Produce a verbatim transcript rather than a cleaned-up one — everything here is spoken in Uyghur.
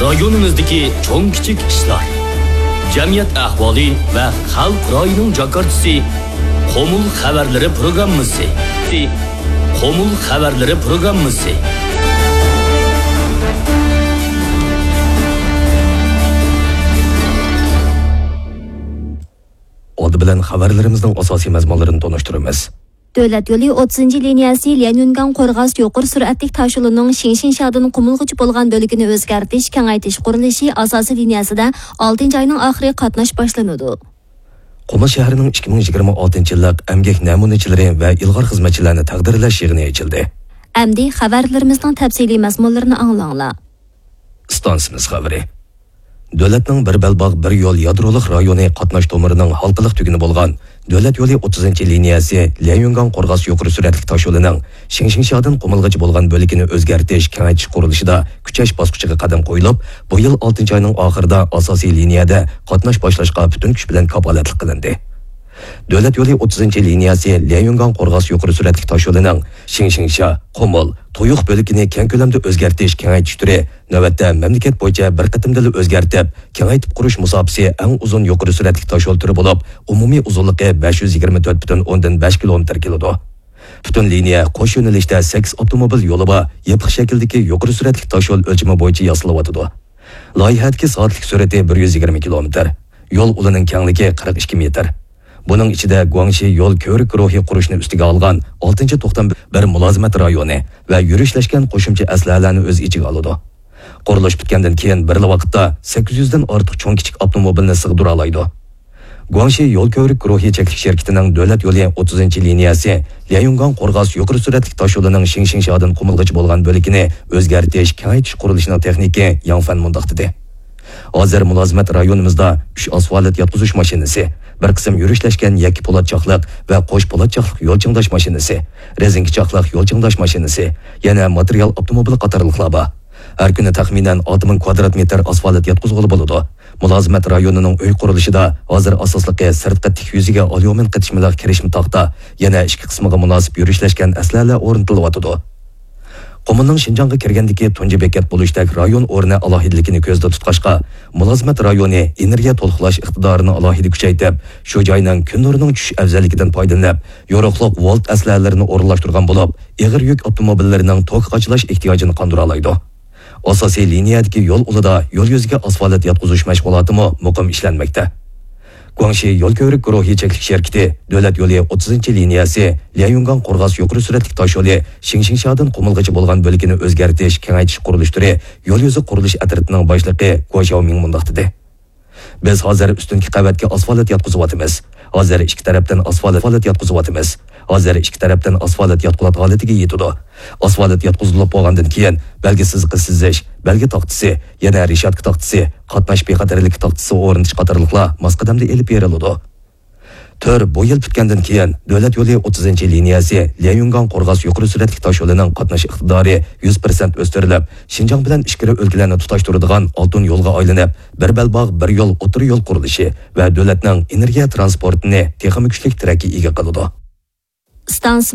رايونىمىزدىكى چوڭ كىچىك ئىشلار، جەمئىيەت ئەھۋالى ۋە خەلق رايىنىڭ جاكارتىسى، قۇمۇل خەۋەرلىرى پروگراممىسى. قۇمۇل خەۋەرلىرى پروگراممىسى. ئالدى بىلەن خەۋەرلىرىمىزنىڭ ئاساسىي مەزمۇنلىرىنى تونۇشتۇرىمىز. دۆلەت يولى ئوتتۇزىنچى لىنىيەسى ليەنيۈنگاڭ قورغاس يۇقىرى سۈرئەتلىك تاشيولىنىڭ شىڭشىڭشيادىن قۇمۇلغىچە بولغان بۆلىكىنى ئۆزگەرتىش، كېڭەيتىش قۇرۇلۇشى ئاساسىي لىنىيەسىدە ئالتىنچى ئاينىڭ ئاخىرى قاتناش باشلىنىدۇ. قۇمۇل شەھىرىنىڭ ئىككى مىڭ يىگىرمە ئالتىنچى يىللىق ئەمگەك نەمۇنىچىلىرى ۋە ئىلغار خىزمەتچىلەرنى تەقدىرلەش يىغىنى ئېچىلدى. ئەمدى خەۋەرلىرىمىزنىڭ تەپسىلىي مەزمۇنلىرىنى ئاڭلاڭلار. ئىستانسىمىز خەۋىرى. دۆلەتنىڭ بىر بەلباغ، بىر يول يادرولۇق رايونى قاتناش تومۇرىنىڭ ھالقىلىق تۈگۈنى بولغان دۆلەت يولى ئوتتۇزىنچى لىنىيەسى ليەنيۈنگاڭ قورغاس يۇقىرى سۈرئەتلىك تاشيولىنىڭ شىڭشىڭشيادىن قۇمۇلغىچە بولغان بۆلىكىنى ئۆزگەرتىش، كېڭەيتىش قۇرۇلۇشىدا كۈچەش باسقۇچىغا قەدەم قويۇلۇپ، بۇ يىل ئالتىنچى ئاينىڭ ئاخىرىدا ئاساسىي لىنىيەدە قاتناش باشلاشقا پۈتۈن كۈچ بىلەن كاپالەتلىك قىلىندى. دۆلەت يولى ئوتتۇزىنچى لىنىيەسى ليەنيۈنگاڭ قورغاس يۇقىرى سۈرئەتلىك تاشيولىنىڭ شىڭشىڭشيا، قۇمۇل، تويۇق بۆلىكىنى كەڭ كۆلەمدە ئۆزگەرتىش، كېڭەيتىش تۈرى نۆۋەتتە مەملىكەت بويىچە بىر قېتىمدىلا ئۆزگەرتىپ، كېڭەيتىپ قۇرۇش مۇساپىسى ئەڭ ئۇزۇن يۇقىرى سۈرئەتلىك تاشيول تۈرى بولۇپ، ئومۇمىي ئۇزۇنلۇقى بەش يۈز يىگىرمە تۆت پۈتۈن ئوندىن بەش كىلومېتىر كېلىدۇ. پۈتۈن لىنىيە قوش يۆنىلىشتە سەككىز ئاپتوموبىل يولى بار يېپىق شەكىلدىكى يۇقىرى سۈرئەتلىك تاشيول ئۆلچىمى بويىچە ياسىلىۋاتىدۇ. لايىھەدىكى سائەتلىك سۈرئىتى بىر يۈز يىگىرمە كىلومېتىر. يول ئۇلىنىڭ كەڭلىكى قىرىق ئىككى مېتىر. بۇنىڭ ئىچىدە گۇاڭشى يول كۆۋرۈك گۇرۇھى قۇرۇشنى ئۈستىگە ئالغان ئالتىنچى توختام بىر مۇلازىمەت رايونى ۋە يۈرۈشلەشكەن قوشۇمچە ئەسلىھەلەرنى ئۆز ئىچىگە ئالىدۇ. قۇرۇلۇش پۈتكەندىن كېيىن بىرلا ۋاقىتتا سەككىز يۈزدىن ئارتۇق چوڭ كىچىك ئاپتوموبىلنى سىغدۇرالايدۇ. گۇاڭشى يول كۆۋرۈك گۇرۇھى چەكلىك شىركىتىنىڭ دۆلەت يولى ئوتتۇزىنچى لىنىيەسى ليەنيۈنگاڭ قورغاس يۇقىرى سۈرئەتلىك تاشيولىنىڭ شىڭشىڭشيادىن قۇمۇلغىچە بولغان بۆلىكىنى ئۆزگەرتىش، كېڭەيتىش قۇرۇلۇشىنىڭ تېخنىكى ياڭ فەن مۇنداق دېدى. ھازىر مۇلازىمەت رايونىمىزدا ئۈچ ئاسفالت ياتقۇزۇش ماشىنىسى، بىر قىسىم يۈرۈشلەشكەن يەككە پولات چاقلىق ۋە قوش پولات چاقلىق يول چىڭداش ماشىنىسى، رېزىنكە چاقلىق يول چىڭداش ماشىنىسى، يەنە ماتېرىيال ئاپتوموبىلى قاتارلىقلار بار. ھەر كۈنى تەخمىنەن ئالتە مىڭ كۋادرات مېتىر ئاسفالت ياتقۇزغىلى بولىدۇ. مۇلازىمەت رايونىنىڭ ئۆي قۇرۇلۇشىدا ھازىر ئاساسلىقى سىرتقى تىك يۈزىگە ئاليۇمىن قېتىشمىلىق كىرىشمە تاختا، يەنە ئىچكى قىسمىغا مۇناسىپ يۈرۈشلەشكەن ئەسلىھەلەر ئورنىتىلىۋاتىدۇ. قۇمۇلنىڭ شىنجاڭغا كىرگەندىكى تۇنجى بېكەت بولۇشتەك رايون ئورنى ئالاھىدىلىكىنى كۆزدە تۇتقاچقا، مۇلازىمەت رايونى ئېنېرگىيە تولۇقلاش ئىقتىدارىنى ئالاھىدە كۈچەيتىپ، شۇ جاينىڭ كۈن نۇرىنىڭ چۈشۈش ئەۋزەللىكىدىن پايدىلىنىپ، يورۇقلۇق ۋولت ئەسلىھەلىرىنى ئورۇنلاشتۇرغان بولۇپ، ئېغىر يۈك ئاپتوموبىللىرىنىڭ توك قاچىلاش ئېھتىياجىنى قاندۇرالايدۇ. ئاساسىي لىنىيەدىكى يول ئۇلىدا يول يۈزىگە ئاسفالت ياتقۇزۇش مەشغۇلاتىمۇ مۇقىم ئىشلەنمەكتە. گۇاڭشى يول كۆۋرۈك گۇرۇھى چەكلىك شىركىتى دۆلەت يولى ئوتتۇزىنچى لىنىيەسى ليەنيۈنگاڭ قورغاس يۇقىرى سۈرئەتلىك تاشيولى شىڭشىڭشيادىن قۇمۇلغىچە بولغان بۆلىكىنى ئۆزگەرتىش، كېڭەيتىش قۇرۇلۇش تۈرى يول يۈزى قۇرۇلۇش ئەترىتىنىڭ باشلىقى گۇا شياۋمىڭ مۇنداق دېدى. بىز ھازىر ئۈستۈنكى قەۋەتكە ئاسفالت ياتقۇزۇۋاتىمىز. ھازىر ئىككى تەرەپتىن ئاسفالت ياتقۇزۇۋاتىمىز. ھازىر ئىككى تەرەپتىن ئاسفالت ياتقۇلات ھالىتىگە يېتىدۇ. ئاسفالت ياتقۇزۇلۇپ بولغاندىن كېيىن، بەلگە سىزىقى سىزىش، بەلگە تاختىسى، يەنە رېشاتكا تاختىسى، قاتناش بىخەتەرلىكى تاختىسى ئورنىتىش قاتارلىقلار ماس قەدەمدە ئېلىپ بېرىلىدۇ. تۈر بۇ يىل پۈتكەندىن كېيىن، دۆلەت يولى ئوتتۇزىنچى لىنىيەسى ليەنيۈنگاڭ قورغاس يۇقىرى سۈرئەتلىك تاشيولىنىڭ قاتناش ئىقتىدارى يۈز پىرسەنت ئۆستۈرۈلۈپ، شىنجاڭ بىلەن ئىچكىرى ئۆلكىلەرنى تۇتاشتۇرىدىغان ئالتۇن يولغا ئايلىنىپ، بىر بەلباغ، بىر يول، ئوتتۇرا يول قۇرۇلۇشى ۋە دۆلەتنىڭ ئېنېرگىيە تىرانسپورتىنى تېخىمۇ كۈچلۈك تىرەككە ئىگە قىلىدۇ. ئىستانسا